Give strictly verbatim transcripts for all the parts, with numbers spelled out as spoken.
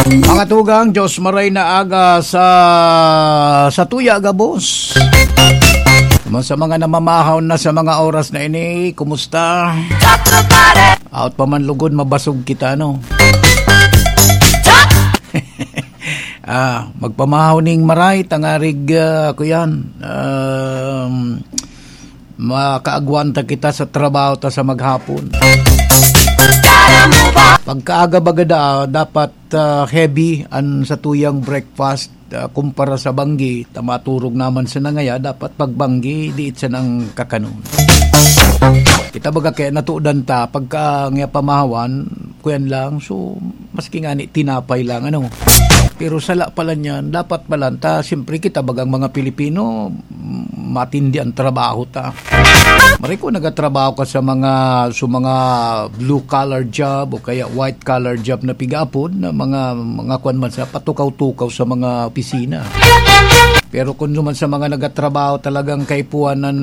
Mga tugang, Diyos maray na aga sa, sa tuya gabos. Sa mga namamahaw na sa mga oras na ini, kumusta? Out pa man lugod, mabasog kita, no? Ah, magpamahaw ning maray, tangarig, ah, ako yan. Um, makaagwanta kita sa trabaho ta sa maghapon. Pagkaaga baga da, dapat, ah, heavy an satuyang breakfast, ah, kumpara sa banggi. Ta maturog naman sa nangaya, dapat pagbanggi, diit sa nang kakanon. Kita baga kaya natudan ta, pagka nga pamahawan, kuyan lang, so, maski nga ni tinapay lang, ano. Pero sala pala niyan, dapat pala ta, siyempre kita bagang mga Pilipino, matindi ang trabaho ta. Maray ko nagatrabaho ka sa mga, sa mga blue collar job o kaya white collar job na pigapod na mga, mga kwan man sa patukaw-tukaw sa mga opisina. Pero kung naman sa mga nagatrabaho talagang kaipuanan,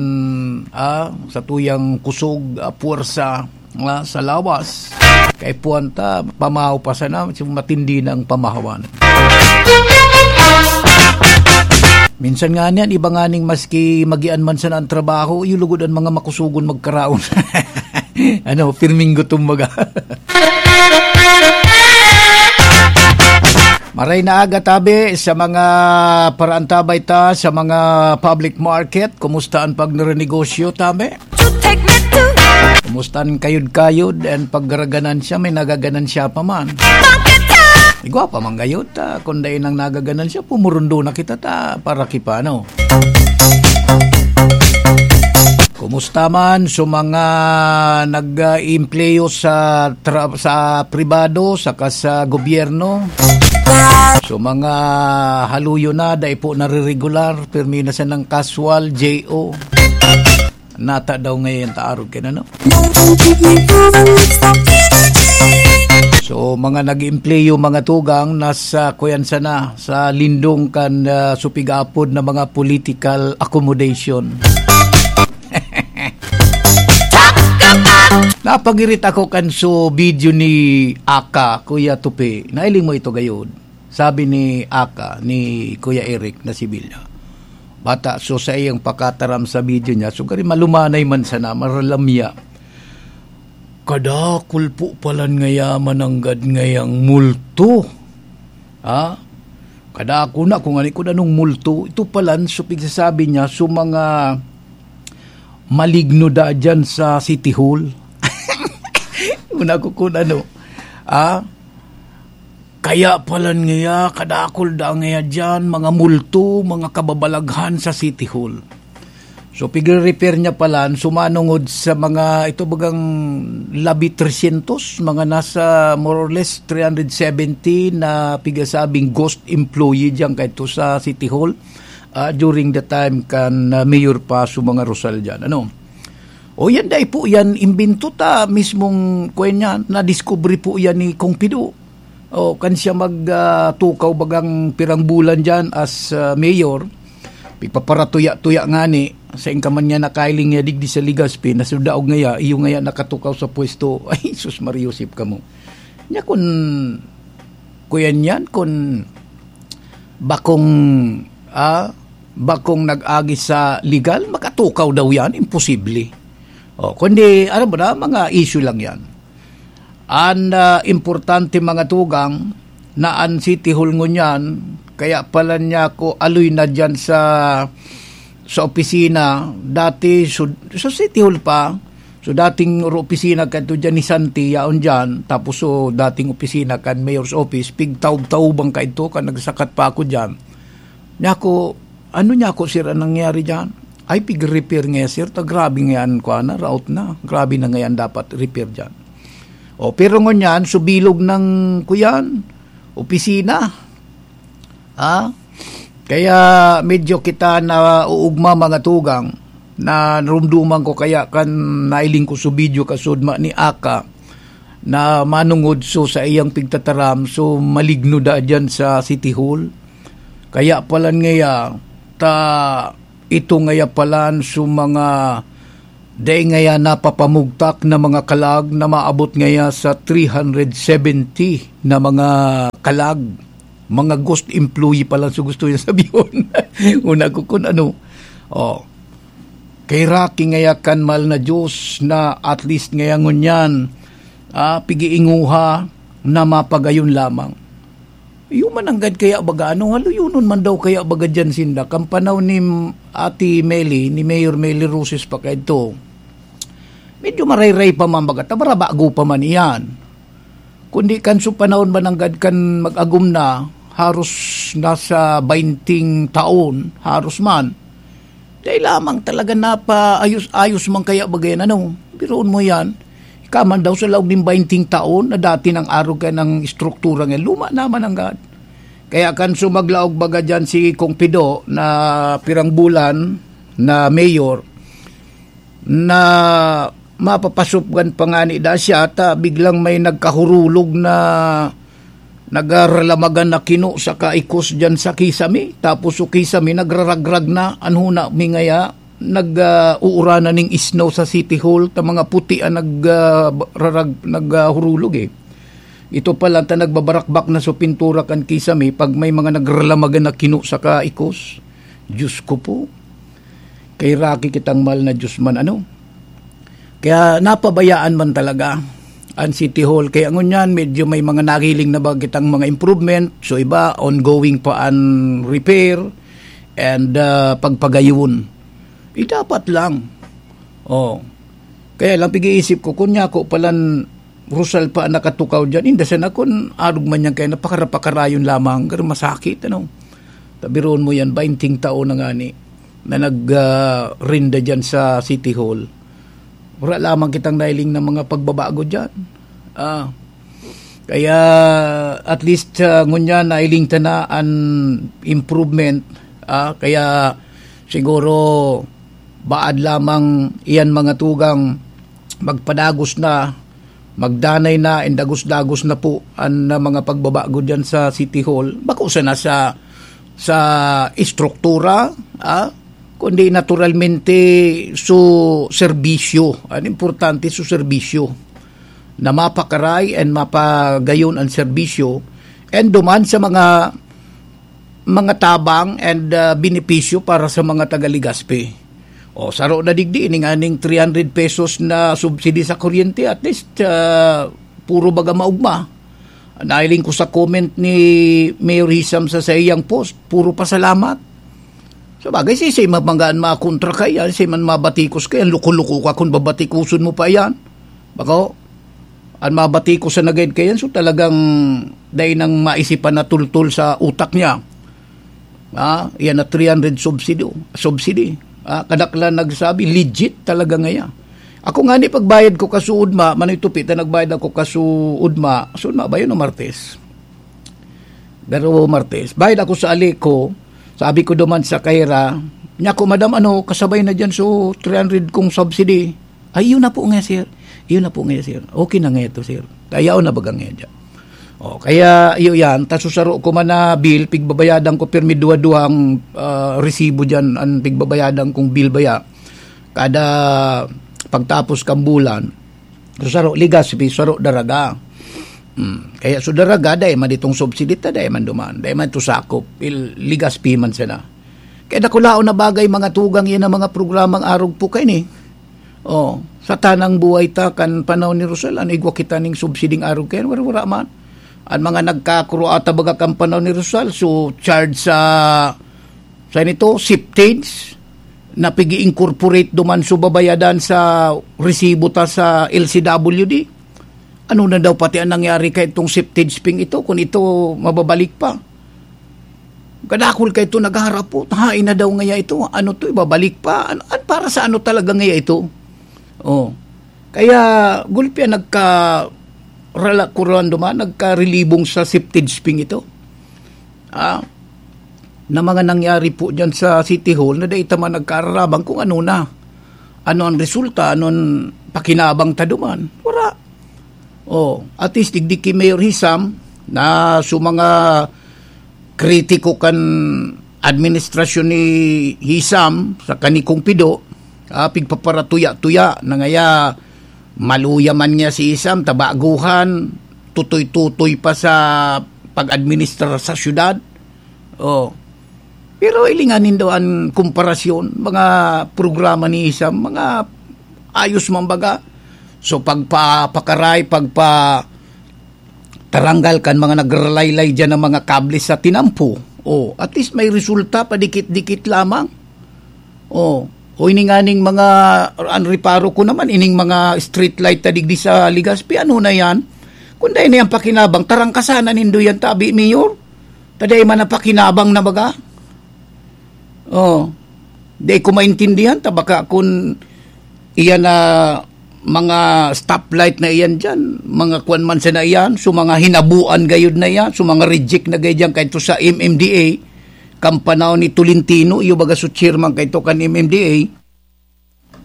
ah, sa tuyang kusog, ah, puwersa, ah, sa lawas, kaipuhan ta, pamahaw pa sana, matindi na ang pamahawan. Minsan nga niyan, iba nga ning maski magian man sana ang trabaho, iyo lugod ang mga makusugon magkaraon. Ano, pirming gutom baga. Maray na aga, tabi, sa mga paraantabay ta, sa mga public market, kumusta ang pagnerenegosyo, tabi? Kumusta ang kayod-kayod and paggaraganan siya, may nagaganan siya pa man? Igwa pa man gayod ta, kung dai nang nagaganan siya, pumurundo na kita ta, para kipano. Kumusta man sa mga nag-, ah, empleyo sa tra-, sa pribado saka sa gobyerno? So, mga haluyo na, dai po nariregular, pirmi na sanang casual, J O. Nata daw ngayon ta arog kay ano? So, mga nag-empleyo, mga tugang, nasa kuyan sana, sa lindong kan, ah, supigapod na mga political accommodation. Napagirit ako kan so video ni Aka, Kuya Tupi. Nailing mo ito gayod? Sabi ni Aka, ni Kuya Eric na si Bilya. Bata, so sa iyang pakataram sa video niya, so gari malumanay man sana, maralamya. Kadakul po palan ngaya mananggad ngayang multo. Ha? Kadakul na kung ani kung anong multo. Ito palan, so pigsasabi niya, so mga maligno da dyan sa City Hall. Una ko kung ano. Ah? Kaya palan ngaya, kadakul da ngaya dyan, mga multo, mga kababalaghan sa City Hall. So, pigre-repair niya palan, sumanungod sa mga, ito bagang labi tresyentos, mga nasa more or less three hundred seventy na pigasabing ghost employee dyan kaito sa City Hall, ah, during the time kan, ah, mayor pa sa mga Rosal dyan. Ano? O yan, dai po yan, imbento ta mismong, kwan niya, nadiskubre po yan ni Kong Pido. O, kan siya mag, ah, tukaw bagang pirang bulan dyan as, ah, mayor, pigpaparatuya-tuya ngani, sain ka man niya nakailing niya digdi sa Legazpi, na sa daog ngaya, iyo ngaya nakatukaw sa pwesto. Ay, sus, Maria Josep kamo. Nya kun, kuyan yan, kun bakong, ah, bakong nag-agi sa legal, makatukaw daw yan, imposible. O, kundi, ano ba na, mga issue lang yan. An, ah, importante, mga tugang, na an City Hall ngunyan, kaya pala niya ako aloy na dyan sa, sa opisina, dati, so, sa City Hall pa, so dating oro opisina kadto dyan ni Santi, yaon dyan, tapos so dating opisina kan Mayor's Office, pigtaob-taoban kadto, kan nagsakat pa ako dyan. Niya ako, "Ano niya ako, sir, ang nangyari dyan?" "Ay, pig-repair nga, sir. Ta grabe nga yan, kuha na, route na. Grabe na nga yan dapat repair dyan." O, pero ngunyan, subilog ng, kuyan, opisina. Ha? Kaya medyo kita na uugma, mga tugang, na narumduman ko kaya kan nailing ko sa video kasudma ni Aka na manungod so sa iyang pigtataram, so maligno da dyan sa City Hall. Kaya palan ngaya, ta ito ngaya palan so mga dai ngaya napapamugtak na mga kalag na maabot ngaya sa three hundred seventy na mga talag, mga ghost employee pa lang so gusto niya sabihon. Una ko kun ano. Oh. Kay Rocky ngaya kan mahal na Diyos na at least ngaya ngunyan, ah, pigiinguha na mapagayon lamang. Iyo man anggad kaya baga, ano, haluyonon man daw kaya baga diyan sinda. Kan panahon ni Ate Meli, ni Mayor Meli Roses pa kaidto, medyo marayray pa man baga, ta marabago pa man iyan. Kundi kan so panahon man anggad kan mag-agom na, haros nasa bainting taon, haros man. Dai lamang talaga napaayos-ayos man kaya baga yan, ano? Biruon mo yan. Ika man daw sa laog nin bainting taon na dati nang arog kaya ng estruktura nga luma naman anggad. Kaya kan sumaglaog baga dyan si Kong Pido na pirang bulan na mayor, na mapapasupgan pa ngani da siya, ta biglang may nagkahurulog na nagaralamagan na kino sa kaikos diyan sa kisame. Tapos so kisame nagraragrag na, an huna mi ngaya, nag, ah, uuranan ning snow sa City Hall, ta mga puti ang nag, ah, rarag-, nag, ah, hurulog eh. Ito pa lang ta nagbabarakbak na so pintura kan kisame pag may mga nagralamagan na kino sa kaikos. Diyos ko po. Kay Rocky kitang mahal na Diyos man, ano? Kaya napabayaan man talaga an City Hall. Kaya ngunyan, medyo may mga nagiling na ba kitang mga improvement. So iba, ongoing pa an repair and, ah, pagpagayon. Eh, dapat lang. Oh. Kaya lang, pag-iisip ko, kun niya ako palan Rosal pa nakatukaw dyan, inda sana kun arog man yan kaya napakarapakarayon lamang, pero masakit, ano? Tabiroon mo yan, bainting taon na ngani na nag, ah, rinda dyan sa City Hall. Wala lamang kitang nailing na mga pagbabago dyan. Ah, kaya at least, ah, ngunyan nailing ta na an improvement. Ah, kaya siguro baad lamang iyan mga tugang magpadagos na, magdanay na, and dagos-dagos na po an, ah, mga pagbabago diyan sa City Hall. Bako sana sa, sa estruktura, ah, kundi naturalmente su serbisyo. An importante su serbisyo. Na mapakaray and mapagayon an serbisyo and duman sa mga, mga tabang and, ah, benepisyo para sa mga taga Legazpi. O, saro na digdi, ini nga ning three hundred pesos na subsidy sa kuryente, at least, ah, puro baga maugma. Nahiling ko sa comment ni Mayor Hisam sa saiyang post, puro pasalamat. Sa bagay, si, si mapanggaan makontra ka yan, si man mabatikos ka yan, luko-luko ka kung babatikoson mo pa yan. Bako, an mabatikos sa nagayad ka yan, so talagang dai nang maisipan na tultol sa utak niya. Ah, iyan na three hundred subsidy, subsidy. Ah, kadaklan nagsabi, legit talaga ngaya. Ako nga ni pagbayad ko kasuod ma, manoy tupi ta nagbayad ako kasuod ma, suod ma ba yun o Martes? Pero Martes, bayad ako sa ali ko, sabi ko duman sa kaira, niya ko, "Madam, ano, kasabay na dyan so three hundred kong subsidy." "Ay, yun na po nga, sir. Yun na po nga, sir. Okay na nga ito, sir." Kaya na baga nga dyan. O, kaya iyo yan, ta susaro ko man na bill, pigbabayadan ko pirmi duwa-duwang, ah, resibo dyan, ang pigbabayadan kong bill baya. Kada pagtapos kang bulan, susaro Legazpi, saro Daraga. Hmm. Kaya so Daraga, dai man itong subsidy ta, dai man duman, dai man ito sakop, il-, Legazpi man sana. Kaya dakulaon na bagay mga tugang yan ang mga programang arog po kayo ni. Oh, sa tanang buhay ta kan panahon ni Rosal, ano igwa kita ning subsiding arog kayan? Wala, wala man. Ang mga nagkakuro ata baga kan panahon ni Rosal, so charge sa, sa nito, septage, na pigi-incorporate duman so babayadan sa resibo ta sa L C W D. Ano na daw pati ang nangyari kay itong septage ping ito, kung ito mababalik pa? Kadakul kay ito nagharap po, hain na daw ngaya ito? Ano to, ibabalik pa? Ano, at para sa ano talaga ngaya ito? Oh. Kaya gulpi ang nagka-, rala-, kuruan duman, nagkarilibong sa septage ping ito. Ah, na mga nangyari po dyan sa City Hall na dai ta man nagkaararaman kung ano na. Ano ang resulta? Ano ang pakinabang ta duman? Wala. Oh, at least digdi ki Mayor Hisam na so mga kritiko kan administrasyon ni Hisam sa kanikong pido, ah, pigpaparatuya-tuya na ngaya maluya man niya si Hisam, tabaguhan, tutoy-tutoy pa sa pag-administrar sa syudad. Oh. Pero hilinga nindo an komparasyon, mga programa ni Isam, mga ayos man baga. So, pagpa-, pakaray, pagpa-, taranggal kan mga nagralaylay diyan ng mga kable sa tinampo. Oh, at least may resulta, padikit-dikit lamang. Oh, o ini nganing mga, ang reparo ko naman, ining mga street light na digdi sa Legazpi, ano na yan? Kung dahil na yan pakinabang, tarangkasan na nindo yan, tabi, Mayor. Taday man na pakinabang na baga. Oh, di ko maintindihan, ta baka kun iyan na mga stoplight na iyan diyan, mga kwan man sana iyan, so mga hinabuan gayud na iyan, so mga reject na gayud diyan, kahit sa M M D A, kan panahon ni Tolentino, iyo baga so chairman kaito kan M M D A.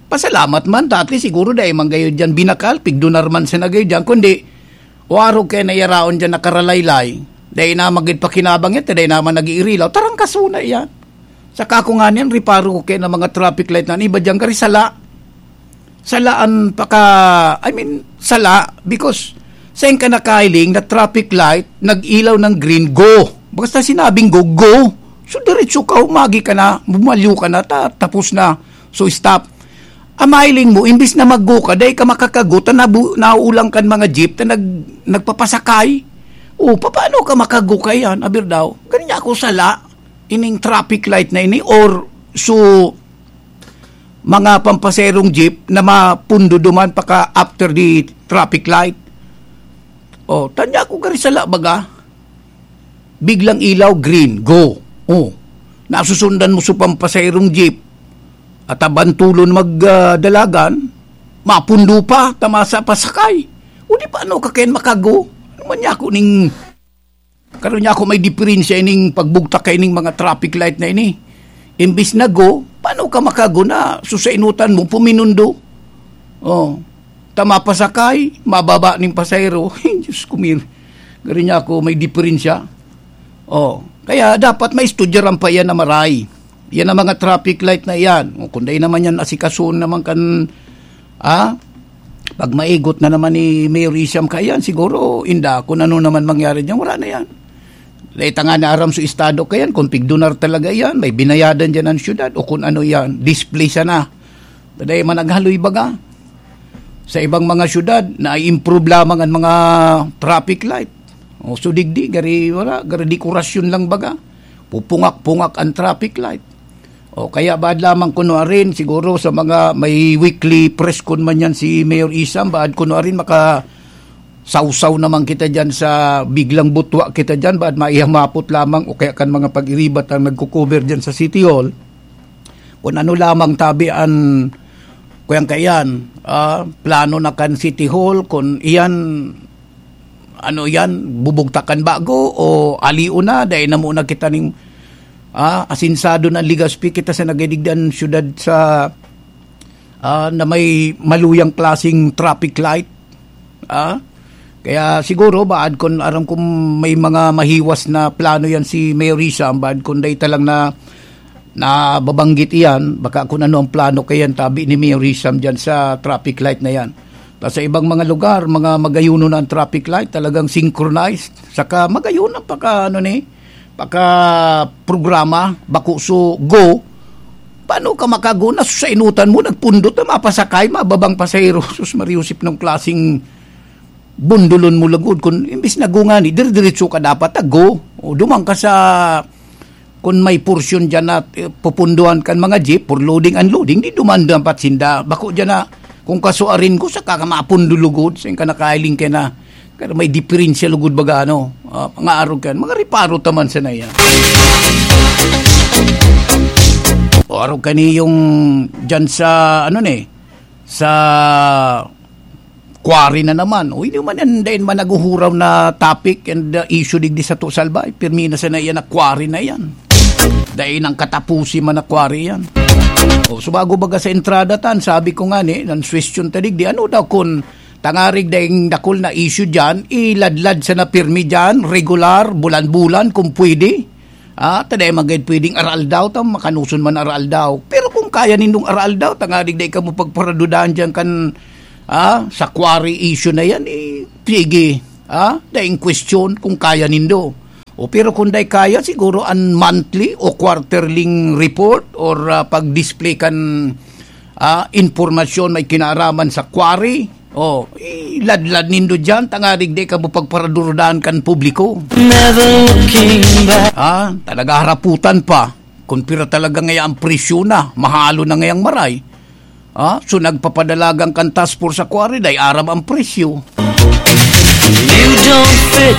Pasalamat man, dati siguro dai man gayud diyan binakal, pigdonar man sana gayud diyan, kundi, o arog kaya na iyaraon diyan nakaralaylay, dai na magid pakinabang yan, dai naman nag-iirilaw, tarangkaso na iyan. Saka ko nga niyan, reparo ko kaya na mga traffic light na iba diyan, gari sala. Sala an paka, I mean, sala, because sain ka nakahiling na traffic light, nag-ilaw ng green, go. Basta sinabing go, go. So, diretso ka, humagi ka na, bumalyo ka na, ta-, tapos na. So, stop. Ang mahiling mo, imbis na mag-go ka, dai ka makakago, ta nabu-, nauulang kan mga jeep, ta nag-, nagpapasakay. O, papaano ka makago ka yan? Aber daw, ganyan ako sala, ining traffic light na ini, or so, mga pampaserong jeep na mapundo duman paka after the traffic light. O, tanya ko gari sala baga. Biglang ilaw, green, go. O, nasusundan mo sa pampaserong jeep. At abantulon mag, ah, dalagan, mapundo pa, tamasa pa sakay. O di paano ka kayan makago? Ano man niya ako ning Karon niya ako may diferensya ining pagbugtak kaining mga traffic light na ini. Imbis na go, paano ka makago na susainutan mo, puminundo? Oh, ta mapasakay, mababa ning pasahero. Diyos ko, mir. Gari niya ako may diferensya. Oh, kaya dapat maistudyaran pa yan na maray. Yan ang mga traffic light na yan. O, kung dai naman yan, asikason naman kan, ah, pag maigot na naman ni Mayor Isham kaiyan, siguro, inda, kung ano naman mangyari dyan, wala na yan. Dai ta nga na aram sa estado kaiyan, kung pigdonar talaga yan, may binayadan dyan ang syudad, o kung ano yan, display sana. Dai man naghaloy baga. Sa ibang mga syudad, na-improve lamang ang mga traffic light. O, so digdi, gari, wala, gari dekorasyon lang baga. Pupungak-pungak ang traffic light. O, kaya baad lamang kuno arin, siguro sa mga may weekly press con man yan si Mayor Isam, baad kuno arin maka-, sawsaw naman kita dyan sa biglang butwa kita dyan, baad maihamapot lamang o kaya kan mga pag-iribat ang nagko-cover dyan sa City Hall. Kung ano lamang tabi an, kuyang kaiyan, ah, plano na kan City Hall, kung iyan, ano yan, bubugtakan bago o aliw na, dai na muna kita ning, ah, asinsado na Legazpi, kita sa nagdidigdan syudad sa, ah, na may maluyang klaseng traffic light. Ah, kaya siguro, baad kun aram kung may mga mahiwas na plano yan si Mayor Risa, baad kun dai ta lang na, nababanggit iyan, baka kung ano ang plano kayan tabi ni Mayor Risa dyan sa traffic light na yan. Ta sa ibang mga lugar, mga magayuno na ang traffic light, talagang synchronized. Saka magayuno paka, ano ni, paka programa, bako so go. Paano ka makago na sa inutan mo, nagpundot na mapasakay, mababang pasahero? Sus, Maria Josep, ng klaseng bundulon mo lagod. Kung imbis na go nga ni, dire-diretso ka dapat, ah, go. O, duman ka sa, kung may porsyon dyan na, eh, pupunduhan kan mga jeep for loading, unloading, di duman dapat sinda. Bako dyan na, kung kasuarin ko, saka ka mapundo lugod, sa ka nakahiling ka na. Pero may diferensya lugod baga, ano, ah, mga arog kan, mga reparo taman sa na yan. O arog kani yung dyan sa, ano ni, sa quarry na naman. O, hindi man yan, dahil man naguhuraw na topic and, uh, issue digdi sa Tusalbay. Pirmi na sana yan na quarry na yan. Dahil nang katapusi man na quarry yan. O, subago baga sa entrada tan, sabi ko nga ni, nan question ta digdi, ano daw kun tangarig daing dakul na issue dyan, iladlad sana pirmi dyan, regular, bulan-bulan, kung pwede. Ah, ta dai man gayud pwedeng araaldaw, ta makanuson man araaldaw. Pero kung kaya nindong araaldaw, tangarig dai kamo pagparadudahan diyan kan, ah, sa quarry issue na yan, eh, sige. Ah, daing question kung kaya nindo. O, pero kung dai kaya, siguro an monthly o quarterly report or, ah, pag-display kan, ah, impormasyon may kinaaraman sa quarry. O, iladlad nindo diyan, tanganing di kamo pagparadurudahan kan publiko. Never looking back. Ah, talaga haraputan pa. Kung pira talaga ngaya ang presyo na, mahalo na ngayang maray. Ah, so nagpapadalagan kan task force sa quarry, dai aram ang presyo. You don't fit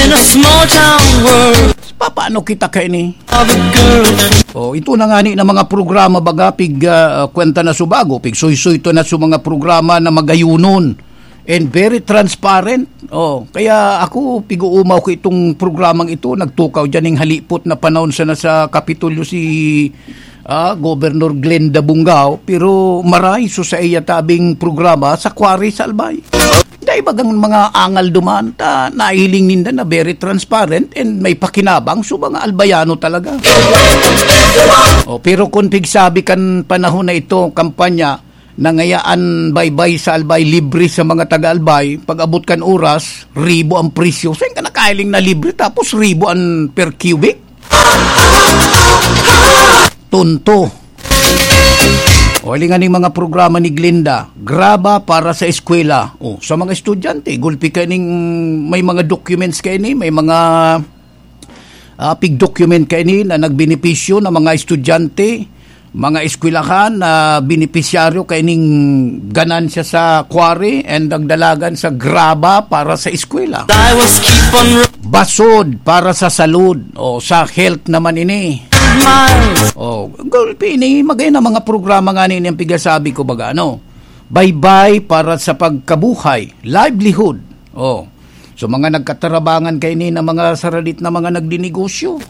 in a small town world. Papaano kita kaini? Of a girl. Oh, ito na nga ni na mga programa baga, pig, ah, kwenta na subago, pig suysuy to na su mga programa na magayunon and very transparent. Oh, kaya ako, pig-uumaw ko itong programang ito, nagtukaw diyan ning halipot na panahon sana sa Kapitolyo si, ah, Governor Glenda Bungao, pero maray so sa iya tabing programa sa Quarry sa Albay. Dai bagang mga angal duman, ta nahiling ninda na very transparent and may pakinabang so mga Albayano talaga. Oh, pero kung pigsabi kan panahon na ito, kampanya, na ngayaan baybay sa Albay libre sa mga taga-Albay, pag-abot kan oras, ribo ang presyo. Saan ka nakahiling na libre tapos ribo ang per cubic? Tonto. O, hilingan ning mga programa ni Glenda, graba para sa eskwela. O, sa mga estudyante, gulpi ka ning may mga documents ka ini, may mga ah, pig-document kaini na nagbenepisyo na mga estudyante, mga eskwelahan na benepisyaryo kaining ganansya sa quarry and nagdalagan sa graba para sa eskwela. I was keep on Basod para sa salud o sa health naman ini. Miles. O, gulpi ini, magay na mga programa nga nini ang pigasabi ko baga, ano? Baybay para sa pagkabuhay, livelihood. O, so, mga nagkatarabangan kaini na mga saradit na mga nagdinegosyo.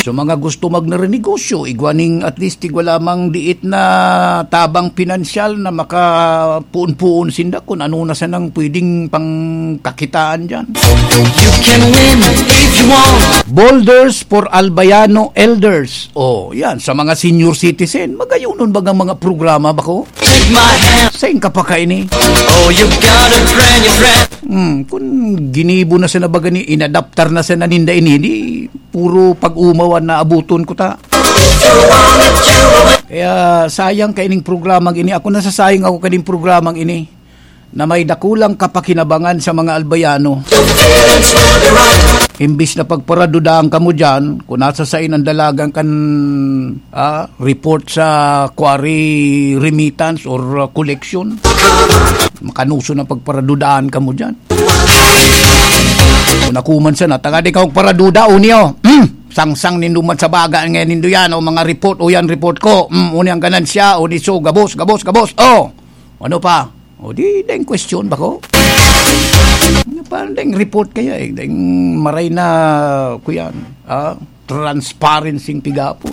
So, mga gusto magnarenegosyo, igwa ning at least igwa lamang diit na tabang pinansyal na makapuon-puon sinda kung ano na sanang pwedeng pangkakitaan diyan. You can win if you want. Boulders for Albayano Elders. O, yan, sa mga senior citizen, magayunon bagang mga programa ba ko? Take my hand. Sain ka pa kaini? Oh, you got a brand new friend. Hmm, kun ginibo na sana baga ni, inadaptar na sana ninda ini, di puro pag-umawan na abuton ko ta. Kaya sayang kaining programang ini. Ako, nasasayang ako kaining programang ini na may dakulang kapakinabangan sa mga Albayano. Imbis na pagparadudaan kamo diyan, kung nasa sain ang dalagan kan, ah, report sa quarry remittance or, ah, collection, makanuso na pagparadudaan kamo diyan. Kung ako man sana, tangadi kang paraduda, o niyo, hmm, sangsang nindo man sa baga nga nindo yan, o mga report, o yan report ko, hmm, o niyang ganansya, o niso, gabos, gabos, gabos, o, ano pa? O di, deng question ba ko? Ano pa, deng report kaya eh, deng maray na, kuyan, ah, transparency pigapon.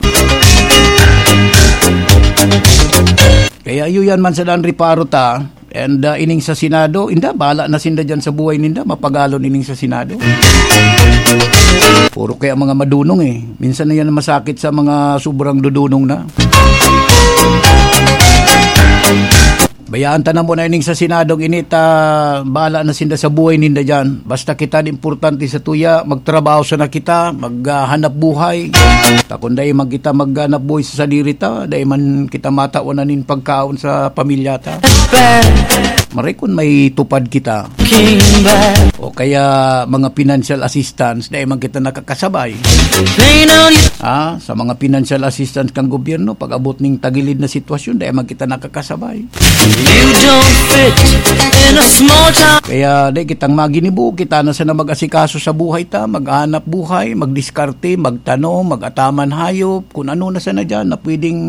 Kaya iyo yan man sa dan reparo ta, and, ah, ining sa Senado, inda, bala na sinda dyan sa buhay ninda, mapagalon ining sa Senado. Puro kaya mga madunong eh. Minsan na yan masakit sa mga sobrang dudunong na. Bayaan ta na muna ining sa Senadong ini ta, bahala na sinda sa buhay ninda dyan. Basta kita, di importante sa tuya, magtrabaho sana kita, maghanap buhay. Ta kung dai man kita maghanap buhay sa sadiri ta, dai man kita matawan na nin pagkaon sa pamilya ta. Maray kun may tupad kita. O kaya mga financial assistance, dai man kita nakakasabay. Ah, sa mga financial assistance kang gobyerno, pag-abot ning tagilid na sitwasyon, dai man kita nakakasabay. You don't fit in a small town. Kaya di kitang maginibo, kita na sana mag-asikaso sa buhay ta, maghanap buhay, magdiskarte, magtanom, mag-ataman hayop, kung ano na sana dyan na pwedeng,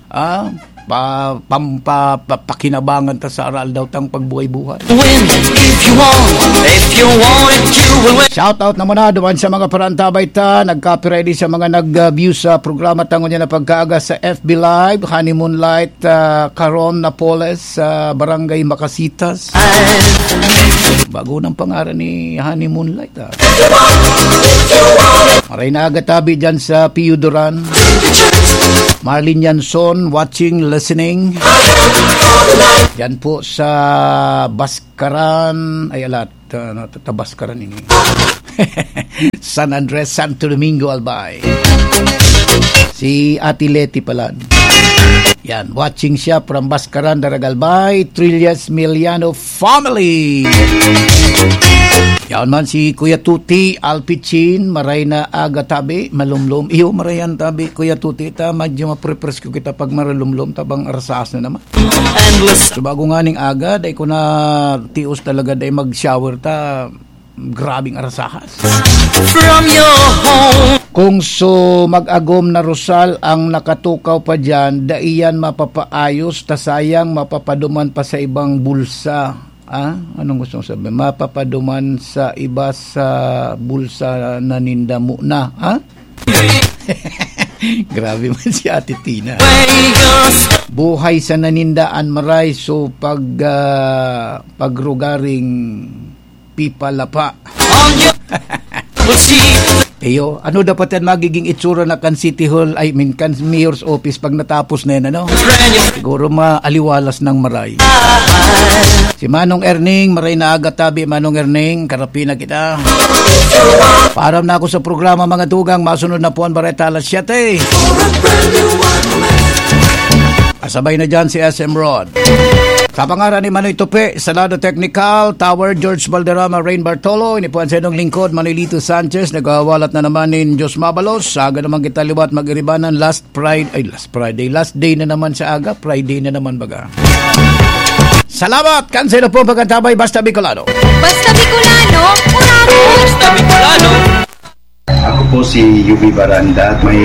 ah, pa, pam, pa, pa, pakinabangan ta sa aral daw tang pagbuhay-buhay. Win if you want, if you want it, you will win. Shout out na muna duman sa mga parantabay ta, nagkapira ini sa mga nag-view sa programa tangon niya na pagkaaga sa F B Live, Honeymoon Light, ah, Caron Napoles, sa Barangay Macasitas. Bago ng pangaran ni Honeymoon Light, ah. Maray na aga tabi dyan sa Pio Duran. Marlene Yanson, watching, listening. Yan po sa Baskaran, ay, alat. ta-, ano, ta-, Tabaskaran ini. San Andres, Santo Domingo, Albay. Si Ate Leti pala. Yan, watching siya from Baskaran, Daragalbay, Trillas Miliano family. Yan man si Kuya Tuti Alpichin, maray na aga tabi, malumlom. Iyo, marayan tabi, Kuya Tuti, ta, medyo maprepresko kita pag maralumlom, tabang arasahas na naman. Endless. So, bago nga ning aga, dai ko na tios talaga, dai mag-shower ta, grabing arasahas. From your home. Kung so mag-agom na rosal ang nakatukaw pa dyan, dai yan mapapaayos, ta sayang mapapaduman pa sa ibang bulsa. Ah, anong gusto mong sabihin? Mapapaduman sa iba sa bulsa na ninda muna, ha? Grabe man si Ate Tina. Way your Buhay sa nanindaan, maray, so pag, ah, pagrugaring pipalapa. On your Iyo, ano dapat yan magiging itsura na kan City Hall, I mean, kan Mayor's Office pag natapos na yan, ano? Siguro maaliwalas ng maray. Si Manong Erning, maray na aga tabi, Manong Erning, karapi na kita. Paaram na ako sa programa, mga tugang, masunod na po ang bareta alas siyete. Asabay na dyan si S M Rod. Sa pangaran ni Manoy Tupi, Salado Technical, Tower, George Valderrama, Rain Bartolo, ini po ang sa inyong lingkod, Manolito Sanchez, nagwawalat na naman nin Diyos mabalos. Sa aga naman kita liwat mag-iribanan, last Friday, ay, last Friday, last day na naman sa aga, Friday na naman baga. Salamat! Kan sa po pagkatabay, Basta Bicolano. Basta Bicolano, kurado! Basta Bicolano. Ako po si Yubi Baranda. May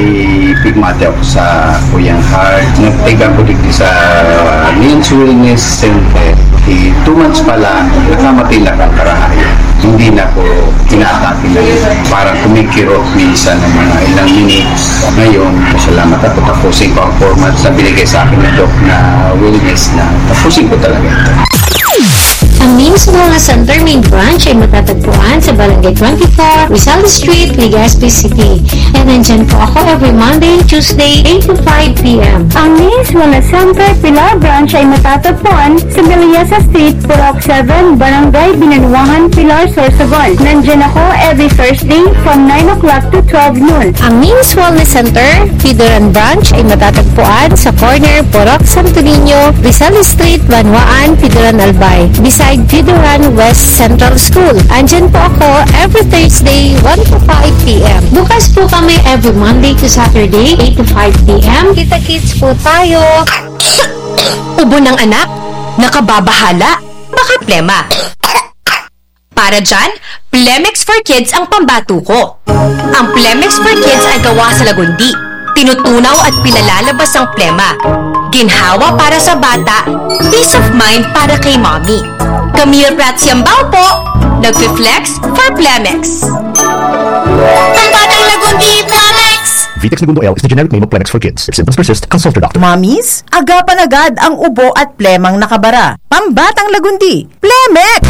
pigmati ako sa Kuyang Heart. Nagtiga ko digdi sa Men's Wellness Center. Di two months pa lang, nakamatay na ang karahayan. Hindi na ko tinatake na yun. Parang kumikirot minsan ng mga ilang minutes. Ngayon, salamat ako. Tapusin ko ang format sa binigay sa akin ng Doc na wellness na tapusin ko talaga ito. Ang Names Wellness Center Main Branch ay matatagpuan sa Barangay twenty-four, Rizal Street, Legazpi City. And nandyan po ako every Monday, Tuesday, eight to five p.m. Ang Names Wellness Center Pilar Branch ay matatagpuan sa Meliasa Street, Purok seven, Barangay Binanuangan, Pilar, Sorsogon. Nandyan ako every Thursday from nine o'clock to twelve noon. Ang Names Wellness Center, Pidoran Branch ay matatagpuan sa corner Purok Santo Niño, Rizal Street, Banwaan, Pidoran, Albay, beside Pidoran West Central School. Andyan po ako every Thursday, one to five p.m. Bukas po kami every Monday to Saturday, eight to five p.m. Kita-kits po tayo. Ubo ng anak? Nakababahala? Baka plema. Para dyan, Plemex for Kids ang pambato ko. Ang Plemex for Kids ay gawa sa lagundi. Tinutunaw at pinalalabas ang plema. Ginhawa para sa bata, peace of mind para kay mommy. Camille Prats Yambao po, nagfi-flex for Plemex. Pambatang lagundi, Plemex! Vitex Negundo L is the generic name of Plemex for Kids. If symptoms persist, consult your doctor. Mommies, agapan agad ang ubo at plemang nakabara. Pambatang lagundi, Plemex!